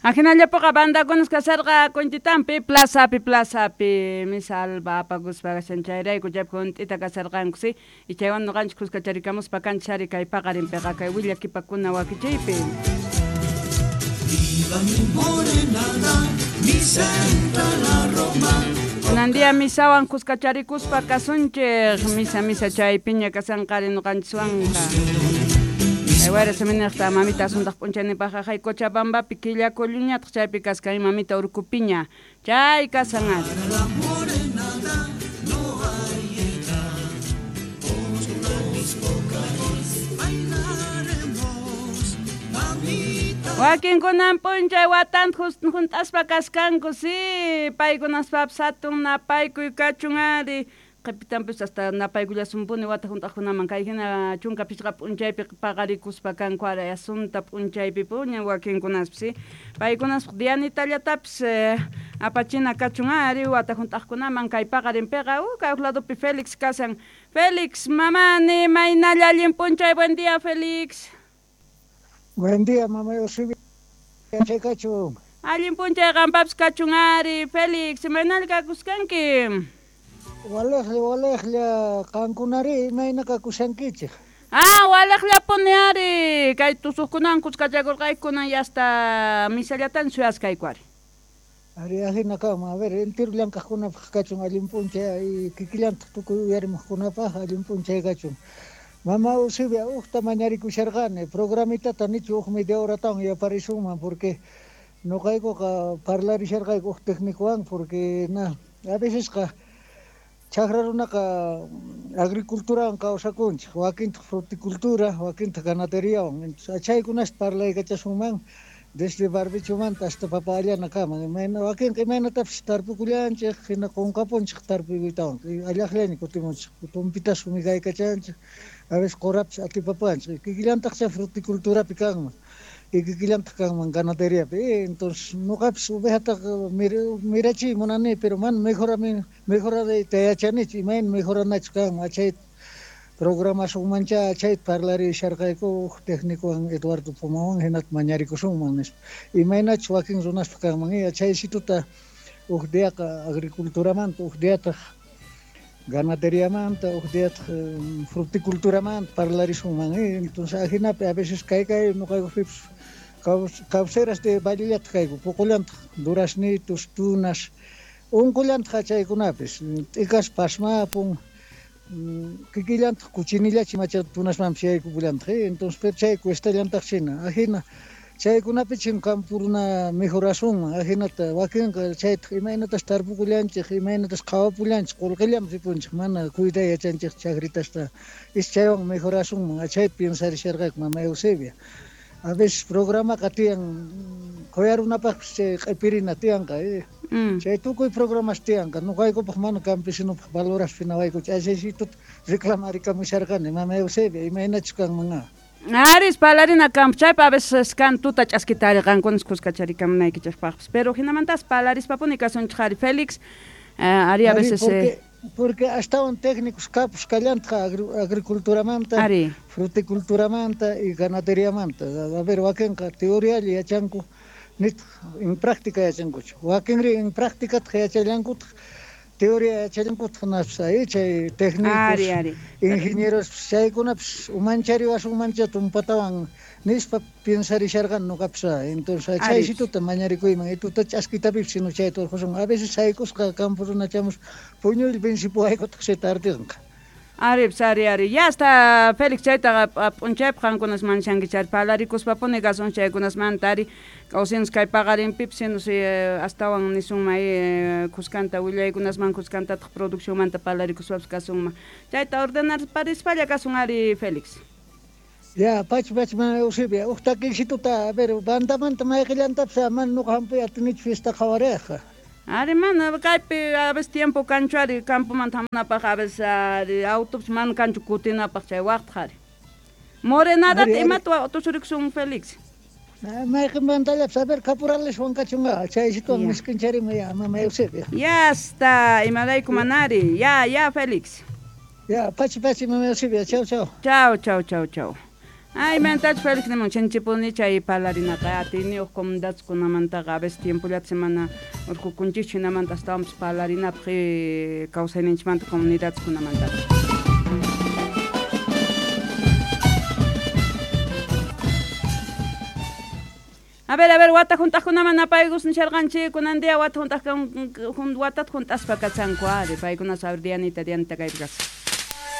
Ajinallapiqa bandakunas kasarqa Kunchitampi plazapi plazapi misa alba apakuspa kashan chayrayku chaypi hunt'ita kasarqanku si y chaywan ñuqanchik kuskacharikamuspa kanchik ari kay paqarinpiqa kay willakipakuna wakichiypi. Viva mi morenada, mi central la Roma. Kunan día misawan kuskacharikuspa kasunchik misa misa chaypiña kasanqari ñuqanchiswanqa. Wayra seminarta mamita asuntaq p'unchaynipaqqa hay Cochabambapi killakulluñataq chaypi kaskan mamita urkupiña chay kasan ari. La morenada no hay edad. Por mis vocales bailaremos, mamita. Wakinkunan p'unchay watanta hunt'aspa kaskanku si paykunaspapis hatun napaykuy kachun ari qhipitanpis hasta napaykullasunpuni wata hunt'aqkunaman kay hina 15 p'unchaypi paqarikuspa kanku ari asunta p'unchaypi puña wakinkunaspis si paykunaspaq dianitallatapis apachina kachun ari wata hunt'aqkunaman kay paqarinpiqa kay huk ladopi Félix kasan. Félix mamani maynalla allin p'unchay, buen día, Félix. Buen día, mamá Eusebia, chay kachun. Allin p'unchay qampapis kachun ari, Félix, imaynalla kakuskanki? Walejlla, walejlla, qankunari imayna kakushankichik? Ah, walejllapuni ari, kay tusuqkunawan kuskachakurqayku kunan ya hasta misallatan suyaskayku ari. Ari ajina kama, a ver, entero llank'aqkunapaq kachun allin p'unchay y kikillantaq tukuy uyarimuqkunapaq allin p'unchay kachun. Mama Eusebia, uqta mañarikusharqani, programitata nichu huk media horatawan yaparisunman, porque ñuqaykuqa parlarisharqayku huk técnicowan, porque na, a vecesqa chakra runaqa agriculturawan kawsakunchik, wakintaq fruticultura, wakintaq ganateriawan. Entonces chaykunasta parlaykachasunman desde barbechomanta hasta papa allanakama. Imayna wakinqa imaynatapis tarpukullanchik, hina qunqapunchik tarpuytawan, allaqllaña kutimunchik, tumpitas fumigaykachanchik, a veces qurapis atipapanchik. Kikillantaqcha fruticulturapi kanman, y kikillantaq kanman ganaderiapi. Entonces ñuqapis ovejataqa mirachiy munani, pero mana mejorayta yachanichu, imayna mejoranachu kanman. Chayta programasunmancha chayta parlarisharqayku huk técnicowan Eduardo Pumawan, hinata mañarikusunman nispa. Imaynachus wakin runaspaq kanman, chaysituta huk diaqa agriculturamanta, huk diataq ganaderiamanta, huk diataq fruticulturamanta parlarisunman. Entonces ajinapi a veces kay kay ñuqaykupipis cauceras de vallellataq kayku, puqullantaq duraznitos, tunas, unqullantaq chaykunapis, t'ikas pasmapun, kikillantaq cuchinillachi macha tunasmanpis yaykupullantaq, entonces pero chay cuestallantaq china, ajina chaykunapi chin campo runa mejorasunman, ajinata wakinqa chaytaq imaynatas tarpukullanchik, imaynatas qhawapullanchik, qullqillam ripunchik, mana cuiday yachanchik chakritasta, is chaywan mejorasunman, chayta piensarisharqayku mama Eusebia. A veces programaqa tiyan quyarunapaqpis chay q'ipirina tiyanqa, Chay tukuy programas tiyanqa, ñuqaykupaq mana campesinopaq valoraspi nawaykuchu, achaysituta reclamarikamusharqani mama Eusebia, imaynachus kanman. Aris parlarina campo chaypi a veces kan tuta ch'askita qankunas kuskacharikamunaykichikpaqpis, pero hinamantas parlarispapuni kasunchik ari Félix, ari a veces Porque astawan técnicos kapus kallantaq agriculturamanta, ari. Fruticulturamanta y ganaderiamanta. A ver, wakinqa teorialla yachanku, nitaq en práctica yachankuchu. Wakinri en prácticataq yachallankutaq, teoría yachallankutaq naspas ahí chay técnicos, ari, ari. Ingenieros, chaykunapis umanchariwasunmancha tumpatawan nispa piensarisharqani ñuqapis. Entonces chaysituta mañarikuyman, y tuta ch'askitapipis sino chayta urqusun. A veces saykusqa campo runa chamus puñuylla vencipuwaykutaq chay tardeqa. Ari, ari, ari. Ya hasta Félix chaytaqa p'unchaypaq qankunas manchankichari parlarikuspapuni kasun chaykunasmanta ari kawsinus kay paqarinpipis sinus astawan nisunman kuskanta willaykunasman kuskantataq produccionmanta parlarikuspapis kasunman. Chayta ordenar parispalla kasun ari Félix. Ya, pachi, pachi, mana Eusebia, huk takiysituta, a ver, bandamanta mayqillantapis mana ñuqa hampuy atinichu fiesta qhawariyqa. Ari mana kaypi a veces tiempo kanchu ari campomanta hamunapaq a veces ari autopis mana kanchu kutinapaq chay waqtaq ari. Morenadata imata tusurikusun Félix? Mayqin bandallapis, a ver, caporaleswan kachunqa, chaysituwan miskincharima ya, mama Eusebia. Ya está, imarayku manari, ya, ya Félix. Ya, pachi, pachi, mama Eusebia, chau, chau. Chau, chau, chau, chau. Ay, mantach Félix nimun chinchipuni chay parlarinaqa atiyniyuq comunidadkunamantaqa a veces tiempollata semana urqukunchikchu hinamanta astawanpas parlarinapaq kawsayninchikmanta comunidadkunamantapas. A ver, wata junt'aqkunaman napaykus nisharqanchik kunan día wata junt'aq watata junt'aspa kachanku ari paykuna saber Dianita Dianita kaypi kasqa.